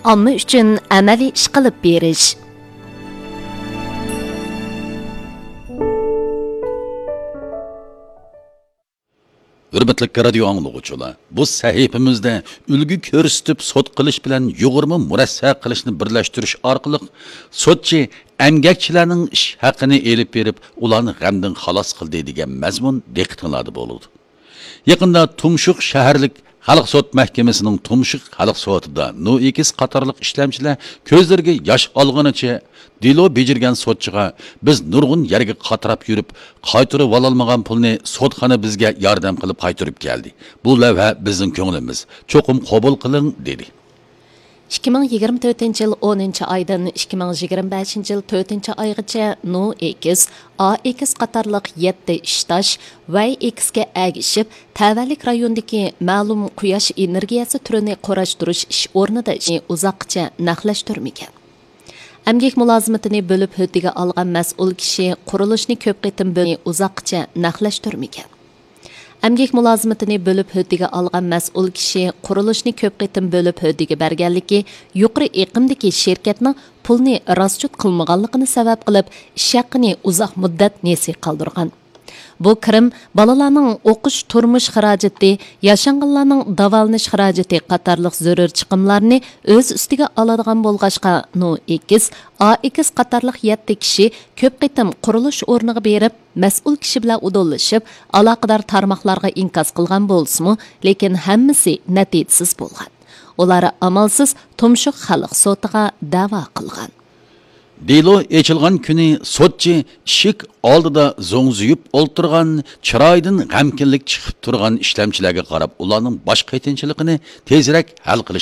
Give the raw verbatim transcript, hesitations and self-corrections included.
ئامما ئۈچۈن ئەمەلىي ئىش قىلىپ بېرىش. ھۆرمەتلىك رادىيو ئاڭلىغۇچىلار، بۇ سەھىپىمىزدە ئۈلگە كۆرسىتىپ سوت قىلىش بىلەن يۇغۇرما مۇرەسسە قىلىشنى بىرلەشتۈرۈش ئارقىلىق سوتچى ئەمگەكچىلەرنىڭ ئىش ھەققىنى ئېلىپ بېرىپ، ئۇلارنى غەمدىن خالاس قىلدى دېگەن مەزمۇن دىققىتىڭلاردا بولىدۇ. يېقىندا تۇمشۇق شەھەرلىك خەلق سوت مەھكىمىسىنىڭ تۇمشۇق خەلق سوتىدا نو ئېكس قاتارلىق ئىشلەمچىلەر كۆزلىرىگە ياش ئالغىنىچە دېلو بېجىرگەن سوتچىغا، بىز نۇرغۇن يەرگە قاتراپ يۈرۈپ، قايتۇرۇۋالالمىغان پۇلنى سوتخانا بىزگە ياردەم قىلىپ قايتۇرۇپ كەلدى. بۇ لەۋھە بىزنىڭ كۆڭلىمىز، چوقۇم قوبۇل قىلىڭ، دېدى. ئىككى مىڭ يىگىرمە تۆتىنچى يىل ئونىنچى ئايدىن ئىككى مىڭ يىگىرمە بەشىنچى يىل تۆتىنچى ئايغىچە نو ئېكس، ئا ئېكس قاتارلىق يەتتە ئىشداش ۋەي ئېكسكە ئەگىشىپ، تەۋەلىك رايوندىكى مەلۇم قۇياش ئېنېرگىيەسى تۈرىنى قۇراشتۇرۇش ئىش ئورنىدا ئىشنى ئۇزاققىچە نەقلەشتۈرمىگەن. ئەمگەك مۇلازىمىتىنى بۆلۈپ ھۆددىگە ئالغان مەسئۇل كىشى قۇرۇلۇشنى كۆپ قېتىم بۆلۈپ ئۇزاققىچە نەقلەشتۈرمىگەن. ئەمگەك مۇلازىمىتىنى بۆلۈپ ھۆددىگە ئالغان مەسئۇل كىشى قۇرۇلۇشنى كۆپ قېتىم بۆلۈپ ھۆددىگە بەرگەنلىكى، يۇقىرى ئېقىمدىكى شىركەتنىڭ پۇلنى راسچوت قىلمىغانلىقىنى سەۋەب قىلىپ، ئىش ھەققىنى ئۇزاق مۇددەت نېسى قالدۇرغان. بۇ كىرىم بالىلارنىڭ ئوقۇش، تۇرمۇش خىراجىتى، ياشانغانلارنىڭ داۋالىنىش خىراجىتى قاتارلىق زۆرۈر چىقىملارنى ئۆز ئۈستىگە ئالىدىغان بولغاچقا، نو ئېكس، ئا ئېكس قاتارلىق يەتتە كىشى كۆپ قېتىم قۇرۇلۇش ئورنىغا بېرىپ، مەسئۇل كىشى بىلەن ئۇدۇللىشىپ، ئالاقىدار تارماقلارغا ئىنكاس قىلغان بولسىمۇ، لېكىن ھەممىسى نەتىجىسىز بولغان. ئۇلار ئامالسىز تۇمشۇق خەلق سوتىغا دەۋا قىلغان. دېلو ئېچىلغان كۈنى سوتچى ئىشىك ئالدىدا زوڭزىيىپ ئولتۇرغان، چىرايىدىن غەمكىنلىك چىقىپ تۇرغان ئىشلەمچىلەرگە قاراپ، ئۇلارنىڭ باش قېتىنچىلىقىنى تېزرەك ھەل قىلىش